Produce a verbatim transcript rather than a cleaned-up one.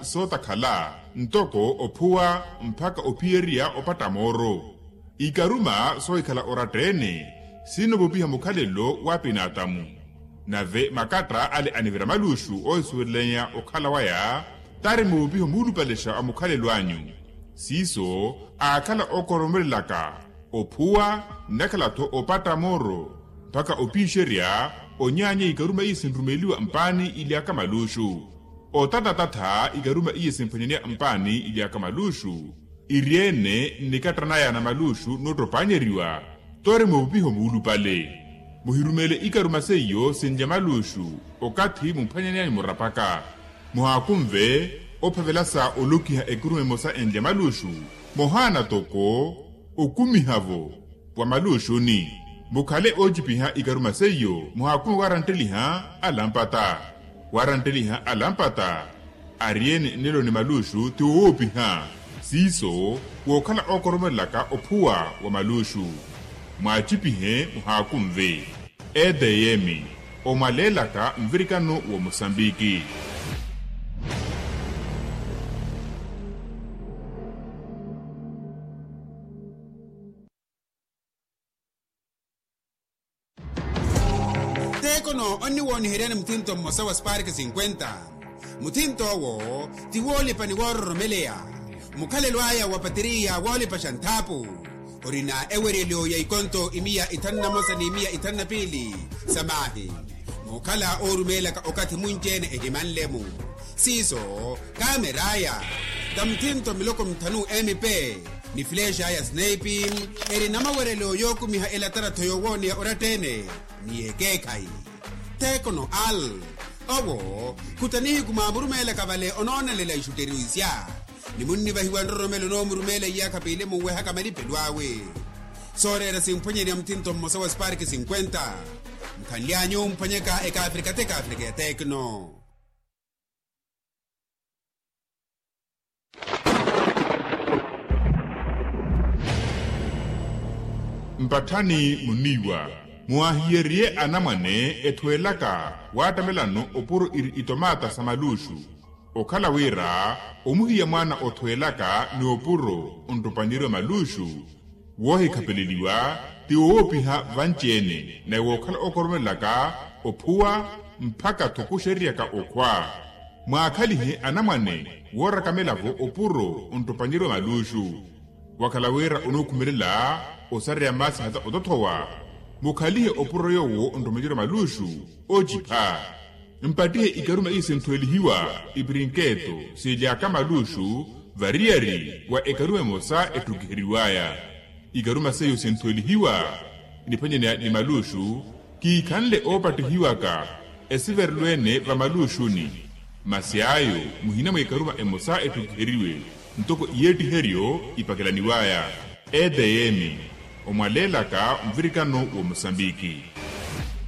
sootakhala ntoko ophuwa mpakha ophiyerya opatta mooro. Ikaruma soohikhala oratta-ene sinoovopiha mukhalelo w'apinaatamu. Nave makatta ale anivira maluxu oohisuwelelanya okhala waya tari moovopiho muulupalexa a mukhalelo anyu. Siiso aakhala ookoromelelaka ophuwa nnakhala-tho opatta mooro mpakha opiixerya onyaanya ikaruma iyo sinrumeliwa mpaani ily'aka maluxu. Otatatata ikaruma iyo esimphwanyaneya mpaani ily'aka maluxu. Iri-ene nnikatta naya na maluxu noottopanyeriwa. Tore moovupiho muulupale muhirumele ikaruma seiyo sinlya maluxu. Okathi mumphwanyaneyanyu murapaka muhaakunve ophavela sa olokiha ekaruma emosa enlya maluxu. Mohaana toko okumiha-vo wa maluxuni. Mukhale oocipiha ikaruma seiyo muhaakunve waarantteliha alampata. Waarantteliha alampata ari-ene nnelo ni maluxu ti woopiha. Siiso wookhala ookoromelelaka ophuwa wa maluxu. Mwaacipihe muhaakunve. Etm omwaleelaka nvirikano wa musambiki. Tekono onniwooniheryani muthinto mmosa wa spark cinquenta. Muthinto owo ti woolipa ni woororomeleya. Mukhalelo aya wa pateriya woolipaxa nthaapu orina eweryelo ya ikonto imiya ithanu na mosa ni imiya ithanu na piili sa maahi. Mookhala oorumeelaka okathi munci-ene ehimanle-mu. Siiso kaamer'aya ta muthinto miloko mithanu mp ni flex'aya snipe. Eri na maweryelo yookumiha elatara-tho yoowooneya oratta-ene ni yekeekhayi. Tekono al owo khuta nihiku mwaamurumeelaka vale onoonelela ixutteriwisya. Ni munnivahiwa nroromelo onoomurumeela iyaakha piili munwehaka malipelo awe. Sooreera simphwanyaneya muthinto mmosa wa spark cinquenta. Mukhanly'anyu mphwanyaka ekaafrika t'ekaafrika ya tekno. Mpatthani muniiwa muwaahiyeriye anamwane ethweelaka waattamelano opuro iri itomaata sa maluxu. Okhala wira omuhiya mwaana othweelaka ni opuro onttopanyeriwa maluxu. Woohikhapeleliwa ti woowopiha vanci-ene naye wookhala ookoromelelaka ophuwa mpakha-tho kuxerryaka okhwa. Mwaakhalihe anamwane woorakamela-vo opuro onttopanyeriwa maluxu. Wakhala wira onookhumelela osareya maasi hata otothowa. Mukhalihe opuro yoowo onttopanyeriwa maluxu oocipha. Mpattihe ikaruma iyo sinthwelihiwa iprinketo sily'aka maluxu variyari wa ekaruma emosa ettukiheriw'aya. Ikaruma seiyo sinthwelihiwa niphwanyaneya ni maluxu kiikhanle oopattihiwaka esiverelo-ene va maluxuni. Masi ayo muhina mwa ikaruma emosa ettukiheriwe ntoko iyeettiheryo ipakelaniw'aya. Etm omwaleelaka nvirikano wa musambiki.